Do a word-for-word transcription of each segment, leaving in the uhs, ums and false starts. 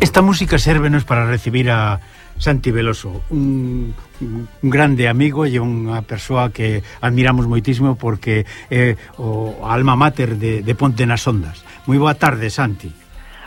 Esta música sérvenos para recibir a Santi Veloso, un, un grande amigo e unha persoa que admiramos moitísimo porque é o alma mater de, de Ponte nas Ondas. Moi boa tarde, Santi.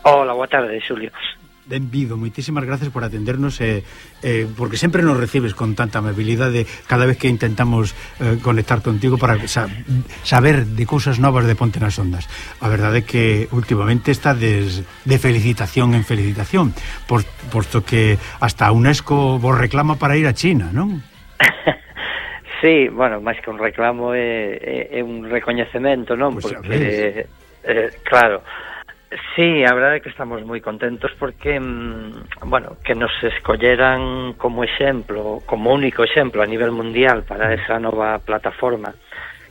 Hola, boa tarde, Xulio. Benvido, moitísimas gracias por atendernos eh, eh, porque sempre nos recibes con tanta amabilidade cada vez que intentamos eh, conectar contigo para sa saber de cousas novas de Ponte nas Ondas. A verdade é que últimamente está des, de felicitación en felicitación, por, posto que hasta a UNESCO vos reclama para ir a China, non? Sí, bueno, máis que un reclamo é, é, é un recoñecemento, non? Pues porque, eh, claro, sí, a verdade é que estamos moi contentos porque, bueno, que nos escolleran como exemplo, como único exemplo a nivel mundial para esa nova plataforma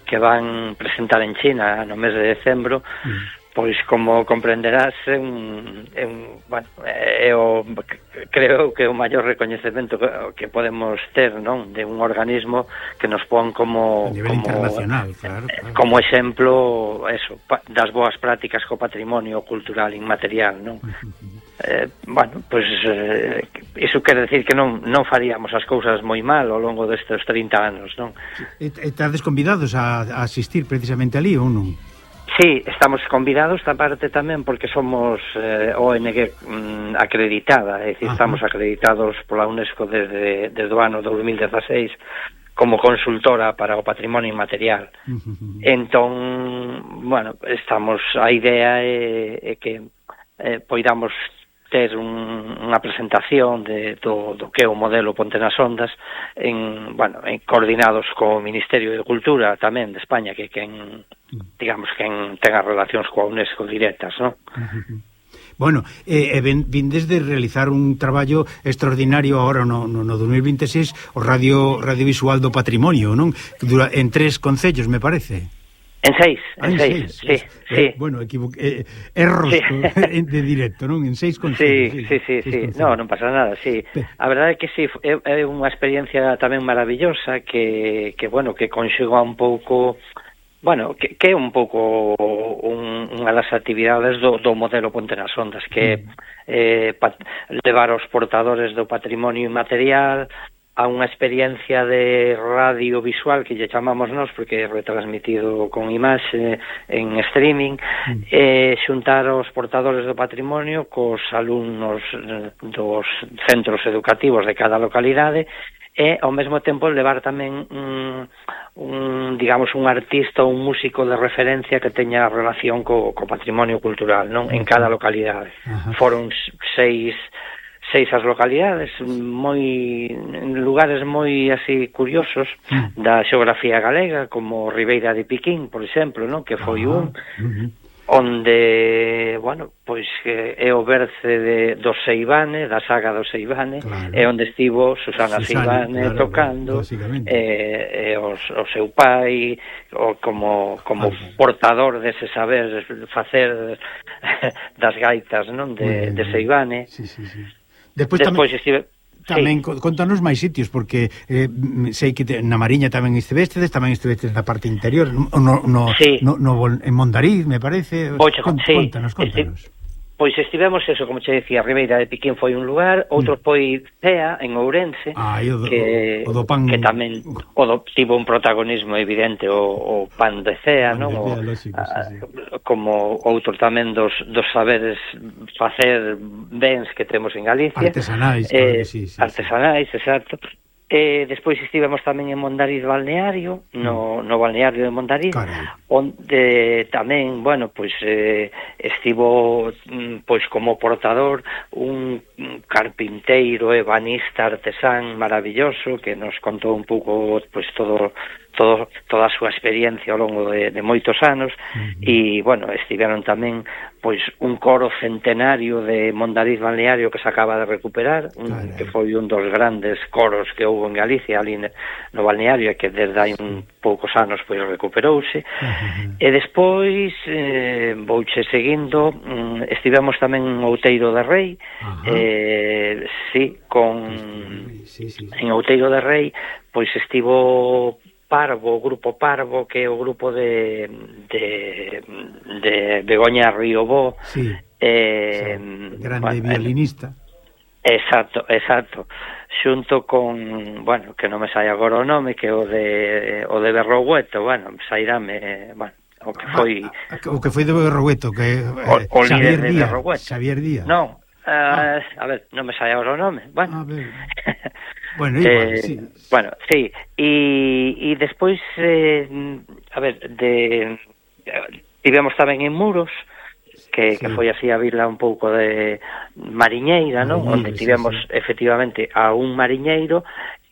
que van presentar en China no mes de decembro, mm. pois como comprenderás, é un, é un, bueno, é o, creo que é o maior recoñecemento que, que podemos ter, non? De un organismo que nos pon como a nivel como, internacional, claro, claro. Como exemplo, eso, das boas prácticas co patrimonio cultural inmaterial, non? Uh-huh. Eh, bueno, pois pues, eh, iso quere decir que non non faríamos as cousas moi mal ao longo destes trinta anos, non? E estades convidados a, a asistir precisamente ali ou non? Sí, estamos convidados esta parte tamén porque somos eh, O N G mm, acreditada, é dicir, Ajá. estamos acreditados pola UNESCO desde, desde o ano dos mil dieciséis como consultora para o patrimonio inmaterial. Uh-huh. Entón, bueno, estamos, a idea é, é que eh, poidamos ter un, unha presentación de, do, do que é o modelo Ponte nas Ondas en, bueno, en, coordinados co Ministerio de Cultura tamén de España, que quen, digamos, quen ten as relacións coa UNESCO directas, non? Uh-huh. Bueno, eh, eh, vindes de realizar un traballo extraordinario agora no, no, no dos mil veintiséis, o Radio Radiovisual do Patrimonio, non? Dura, en tres concellos, me parece. En seis, ah, en, en seis, seis, sí, es, sí. Eh, bueno, equivo eh, erros sí. de directo, non? En seis concellos. Sí, sí, sí, sí, sí. No, non pasa nada, sí. A verdade é que sí, é, é unha experiencia tamén maravillosa que, que bueno, que conxuga un pouco, bueno, que, que é un pouco un, unha das actividades do, do modelo Ponte nas Ondas, que mm. eh, pat, levar os portadores do patrimonio inmaterial a unha experiencia de radiovisual que lle chamamos nós porque é retransmitido con imaxe en streaming, mm. e xuntar os portadores do patrimonio cos alumnos dos centros educativos de cada localidade e ao mesmo tempo levar tamén un, un digamos un artista ou un músico de referencia que teña relación co, co patrimonio cultural, non? En cada localidade. Ajá. Foron seis seis as localidades, moi en lugares moi así curiosos mm. da xeografía galega, como Ribeira de Piquín, por exemplo, non? Que foi ah, un uh-huh. onde, bueno, pois que é o berce de, do Seivane, da saga do Seivane, claro. É onde estivo Susana, Susana Seivane claro, tocando, e, e os, o seu pai, o, como, como ah, portador dese saber facer das gaitas, non? De, de Seivane. Sí, sí, sí. Despois, Despois tamén, estive... tamén sí. Contanos máis sitios, porque eh, sei que te, na Mariña tamén estivestes, tamén estivestes na parte interior, no, no, sí. no, no, en Mondariz, me parece. Ocho, Cont, sí. Contanos, contanos. Esti... Pois estivemos, eso, como che decía, Ribeira de Piquín foi un lugar, outro mm. foi Cea, en Ourense, ah, o do, que, o do pan... que tamén o do, tivo un protagonismo evidente o, o pan de Cea, non? O, lógico, a, sí, sí. Como outro tamén dos, dos saberes facer bens que temos en Galicia. Artesanais, eh, claro, sí, sí, artesanais, sí. Exacto. E despois estivemos tamén en Mondariz Balneario, no, no balneario de Mondariz, Caray. Onde tamén, bueno, pois eh, estivo pois como portador un carpinteiro, ebanista, artesán maravilloso que nos contou un pouco pois todo todo toda a súa experiencia ao longo de, de moitos anos. Uh-huh. E, bueno, estiveron tamén pois un coro centenario de Mondariz Balneario que se acaba de recuperar, un, que foi un dos grandes coros que houve en Galicia ali no balneario e que desde hai un poucos anos pois recuperouse. Uh-huh. E despois eh, vouche seguindo, estivemos tamén en Outeiro de Rei. Uh-huh. eh, sí, con sí, sí, sí. En Outeiro de Rei pois estivo Parvo, o Grupo Parvo, que é o grupo de de, de Begoña Riobó, sí, eh, grande bueno, violinista. Exacto, exacto. Xunto con, bueno, que non me sai agora o nome, que o de o de Berrogueto, bueno, sairame, bueno, o que foi ah, o que foi de Berrogueto, que eh, o, o Xavier líder de Díaz, Berrogueto. Xavier Díaz. Non, uh, ah. a ver, non me sai agora o nome. Bueno. A ver. Bueno, igual, eh, sí. Bueno, sí, e e despois eh, a ver, de tivemos tamén en Muros, que, sí. que foi así a vila un pouco de mariñeira, non? Onde tivemos sí, sí. efectivamente a un mariñeiro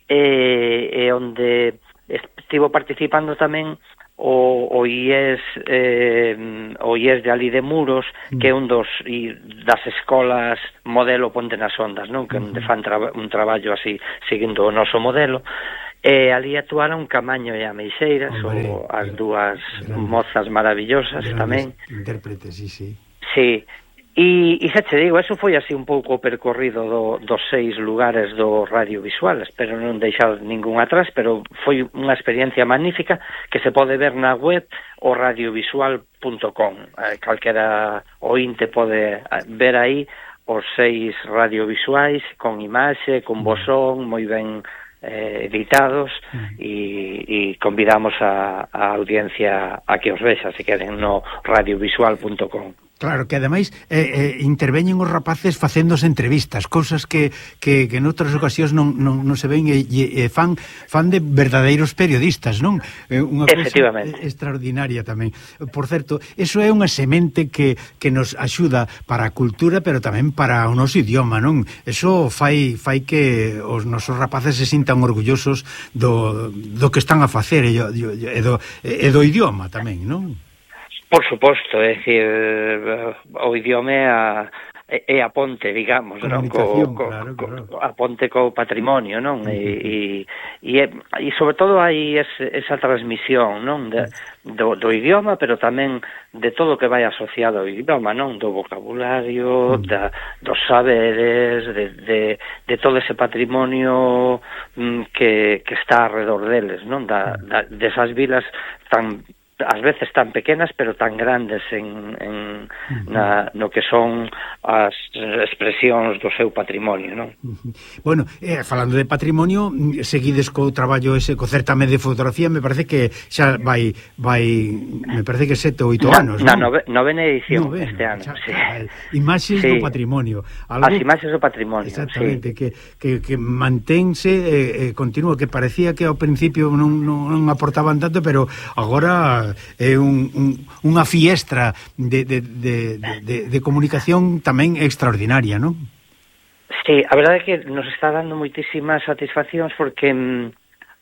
e, e onde estivo participando tamén o, o I E S eh, o I E S de ali de Muros, mm. que é un dos i, das escolas modelo Ponte nas Ondas, non? Que mm. onde fan traba, un traballo así seguindo o noso modelo. E ali actuaron Camaño e Ameixeiras, Hombre, o, as dúas grandes, mozas maravillosas tamén. Intérpretes, sí, sí. Sí, e, e xa che digo, eso foi así un pouco o percorrido do, dos seis lugares do radiovisual, espero non deixar ningún atrás, pero foi unha experiencia magnífica que se pode ver na web o radiovisual punto com. Eh, calquera ointe pode ver aí os seis radiovisuais con imaxe, con bosón, moi ben eh, editados e, e convidamos a, a audiencia a que os vexa se queren no radiovisual punto com. Claro, que ademais eh, eh, interveñen os rapaces facéndose entrevistas, cousas que, que, que en outras ocasións non, non, non se ven e, e fan, fan de verdadeiros periodistas, non? Eh, unha cousa extraordinaria tamén. Por certo, eso é unha semente que, que nos axuda para a cultura, pero tamén para o noso idioma, non? Eso fai, fai que os nosos rapaces se sintan orgullosos do, do que están a facer e do, e do, e do idioma tamén, non? Por suposto, é dicir, o idioma é a, é a ponte, digamos, non? Co, co, claro, claro. Co, a ponte co patrimonio, non? Uh-huh. E, e, e sobre todo hai ese, esa transmisión, non? De, do, do idioma, pero tamén de todo o que vai asociado ao idioma, non? Do vocabulario, uh-huh. da, dos saberes, de, de, de todo ese patrimonio mm, que, que está alrededor deles, non? Da, da, desas vilas tan ás veces tan pequenas pero tan grandes en, en uh-huh. na, no que son as expresións do seu patrimonio, non? Uh-huh. Bueno, eh, falando de patrimonio, seguides co traballo ese, co certame de fotografía, me parece que xa vai, vai me parece que sete ou oito anos, na, non? Na novena edición novena, este ano, xa, sí. Imaxes sí. do patrimonio. Algo, as imaxes do patrimonio, exactamente, sí. que, que, que mantense eh, eh, continuo, que parecía que ao principio non, non, non aportaban tanto, pero agora é un, un, unha fiestra de, de, de, de, de comunicación tamén extraordinaria, non? Sí, a verdade é que nos está dando moitísimas satisfaccións porque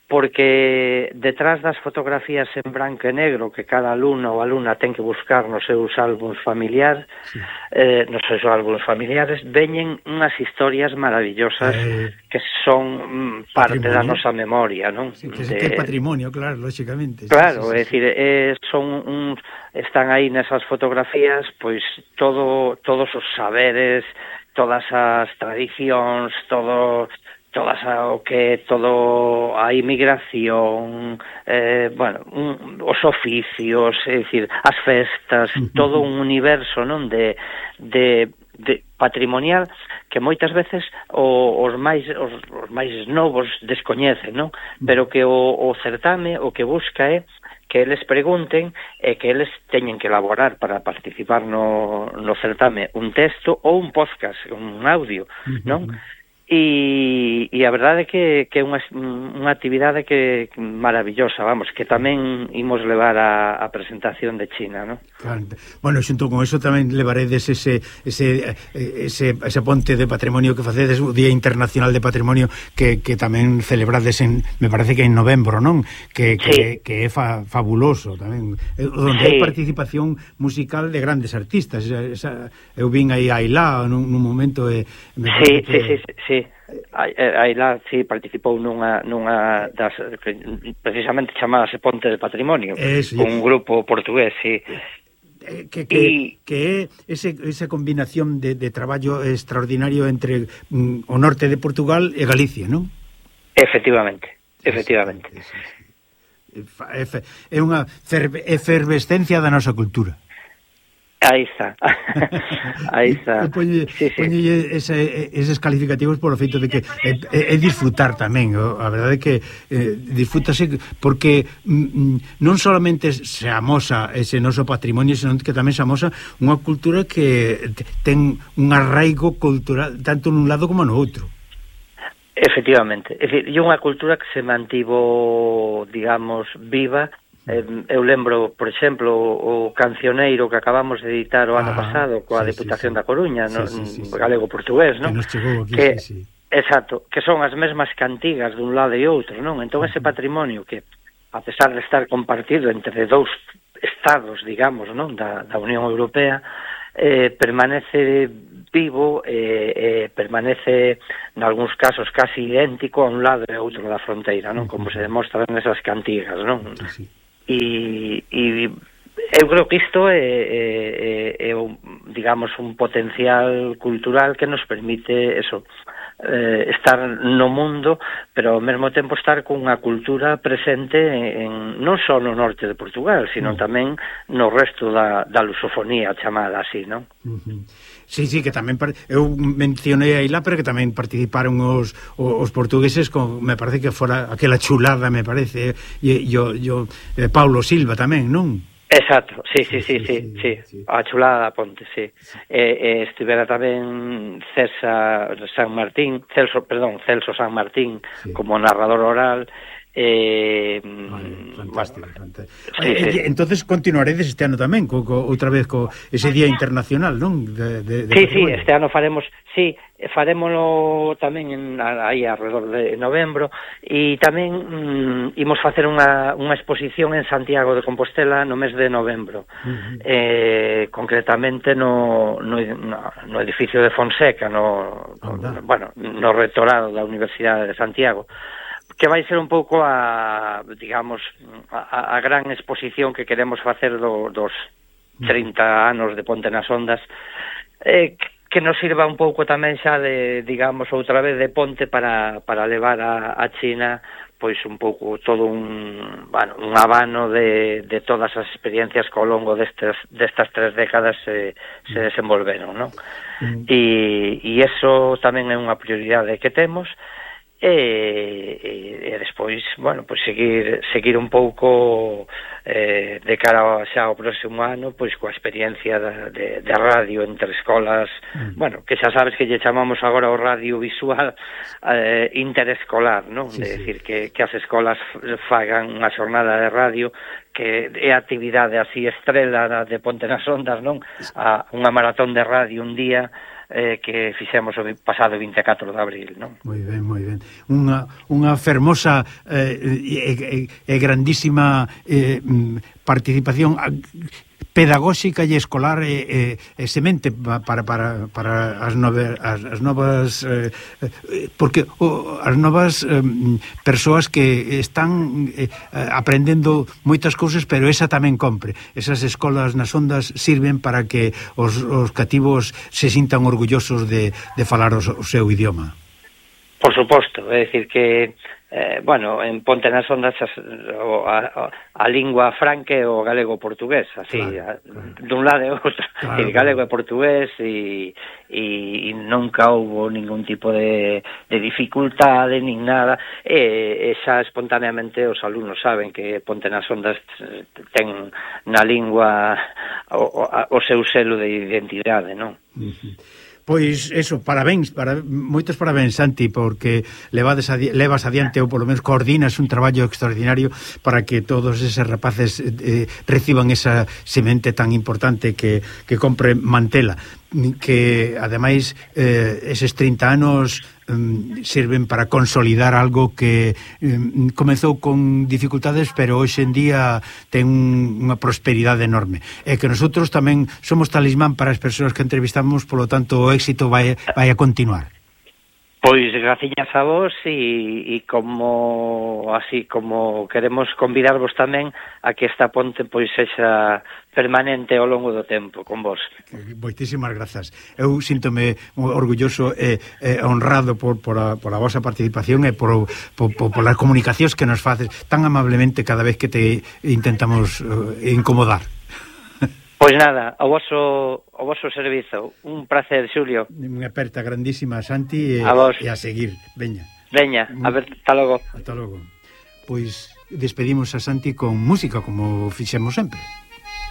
porque detrás das fotografías en branco e negro que cada alumno ou alumna ten que buscar nos seus álbuns familiares, sí. eh, nos seus álbuns familiares, veñen unhas historias maravillosas eh, que son mm, parte da nosa memoria, non? Sí, que, de... que é patrimonio, claro, lógicamente. Claro, sí, sí, é dicir, eh, son uns, están aí nesas fotografías, pois todo, todos os saberes, todas as tradicións, todo todas a, o que todo a inmigración, eh, bueno, un, os oficios, é dicir, as festas, uh-huh. todo un universo, non, de, de, de patrimonial que moitas veces o, os máis os, os máis novos descoñecen, non? Pero que o, o certame o que busca é que eles pregunten e que eles teñen que elaborar para participar no, no certame un texto ou un podcast, un audio, non? Uh-huh. E, e a verdade é que, que é unha, unha actividade que maravillosa, vamos, que tamén imos levar a, a presentación de China, non? Claro. Bueno, xunto con eso tamén levaredes ese, ese, ese, ese ponte de patrimonio que facedes, o Día Internacional de Patrimonio que, que tamén celebrades en, me parece que en novembro, non? Que, que, sí. que é fa, fabuloso tamén, onde sí. hai participación musical de grandes artistas. Esa, eu vin aí a Ailá nun, nun momento e me sí, que... sí, sí, sí. Aí lá sí participou nunha, nunha das precisamente chamábase Ponte de Patrimonio, eso, un grupo portugués, sí. Que, que, y... que é ese, esa combinación de, de traballo extraordinario entre mm, o norte de Portugal e Galicia, non? Efectivamente, efectivamente. Sí, sí, sí. é unha efervescencia da nosa cultura. Aí está, aí está. Poñe, sí, sí. Poñe ese, eses calificativos por o feito de que é, é disfrutar tamén. A verdade é que eh, disfrútase porque mm, non solamente se amosa ese noso patrimonio, senón que tamén se amosa unha cultura que ten un arraigo cultural tanto nun lado como no outro. Efectivamente, é dicir, é unha cultura que se mantivo, digamos, viva. Eu lembro, por exemplo, o cancioneiro que acabamos de editar o ano ah, pasado coa sí, Deputación sí, sí. da Coruña, sí, no, sí, sí, sí. galego-portugués, non? Que nos chegou aquí, que, sí, sí. Exacto, que son as mesmas cantigas dun lado e outro, non? Entón ese patrimonio que, a pesar de estar compartido entre dous estados, digamos, non? Da, da Unión Europea, eh, permanece vivo e eh, eh, permanece, en algúns casos, casi idéntico a un lado e a outro da fronteira, non? Como se demostra nesas cantigas, non? Sí, sí. E, e eu creo que isto é, é, é, un, digamos, un potencial cultural que nos permite eso, eh, estar no mundo, pero ao mesmo tempo estar cunha cultura presente en, non só no norte de Portugal, sino mm. tamén no resto da, da lusofonía chamada así, non? Uh-huh. Sí, sí, que tamén eu mencionei aí lá, pero que tamén participaron os, os portugueses con, me parece que fora aquela chulada, me parece, e yo, yo, eh, Paulo Silva tamén, non? Exacto, sí, sí, sí, sí, sí, sí, sí. A chulada da Ponte, sí. sí. E, e estivera tamén César San Martín, Celso, perdón, Celso San Martín, sí. como narrador oral. Eh, vale, fantástico, bueno, fantástico. Sí, eh, sí. Entonces continuaredes este ano tamén co, co, outra vez co ese Día Internacional, non? De, de, de sí, sí, este ano faremos, sí, farémolo tamén en, aí alrededor de novembro e tamén mm, imos facer unha, unha exposición en Santiago de Compostela no mes de novembro. Uh-huh. eh, concretamente no, no, no edificio de Fonseca, no, no, bueno, no rectorado da Universidade de Santiago, que vai ser un pouco a, digamos, a, a gran exposición que queremos facer do, dos trinta anos de Ponte nas Ondas, eh, que nos sirva un pouco tamén xa de, digamos, outra vez de ponte para, para levar a, a China pois un pouco todo un, bueno, un abano de, de todas as experiencias que ao longo destes, destas tres décadas se, se desenvolveron, non? Mm. E, e eso tamén é unha prioridade que temos. E, e, e despois, bueno, pois seguir seguir un pouco eh, de cara xa ao próximo ano, pois coa experiencia de, de, de radio entre escolas, mm. bueno, que xa sabes que lle chamamos agora o radio visual eh, interescolar, non? Sí, de sí. decir que, que as escolas fagan unha xornada de radio que é a actividade así estrela de Ponte nas Ondas, non? A unha maratón de radio un día eh, que fixemos o pasado vinte e catro de abril, non? Moi ben, moi ben. Unha, unha fermosa eh, e, e, e grandísima eh, participación pedagóxica e escolar e, e, e semente para, para, para as, nove, as, as novas eh, porque o, as novas eh, persoas que están eh, aprendendo moitas cousas, pero esa tamén compre. Esas escolas nas ondas sirven para que os, os cativos se sintan orgullosos de, de falar o, o seu idioma. Por suposto, é dicir que Eh, bueno, en Ponte nas Ondas a, a, a lingua franca é o galego-portugués, así, claro, claro. dun lado e outro, claro, el galego e portugués e, e, e nunca houbo ningún tipo de, de dificultade nin nada, e, e xa espontaneamente os alumnos saben que Ponte nas Ondas ten na lingua o, o, o seu selo de identidade, non? Uh-huh. Pois eso, parabéns, para, moitos parabéns, Santi, porque levades adi, levas adiante ou polo menos coordinas un traballo extraordinario para que todos eses rapaces eh, reciban esa semente tan importante que, que compre Mantela, que ademais eh, eses trinta anos um, sirven para consolidar algo que um, comezou con dificultades, pero hoxe en día ten unha prosperidade enorme, e que nosotros tamén somos talismán para as persoas que entrevistamos, polo tanto o éxito vai, vai a continuar. Pois graciñas a vos e, e como así como queremos convidarvos tamén a que esta ponte pois sexa permanente ao longo do tempo con vos. Moitísimas grazas. Eu síntome orgulloso e, e honrado por, por, a, por a vosa participación e por, por, por, por as comunicacións que nos faces tan amablemente cada vez que te intentamos uh, incomodar. Pois nada, ao voso, ao voso servizo. Un placer, Xulio. Unha aperta grandísima, Santi, e a, vos. E a seguir. Veña. Veña, a ver, hasta logo. Hasta logo. Pois despedimos a Santi con música, como fixemos sempre.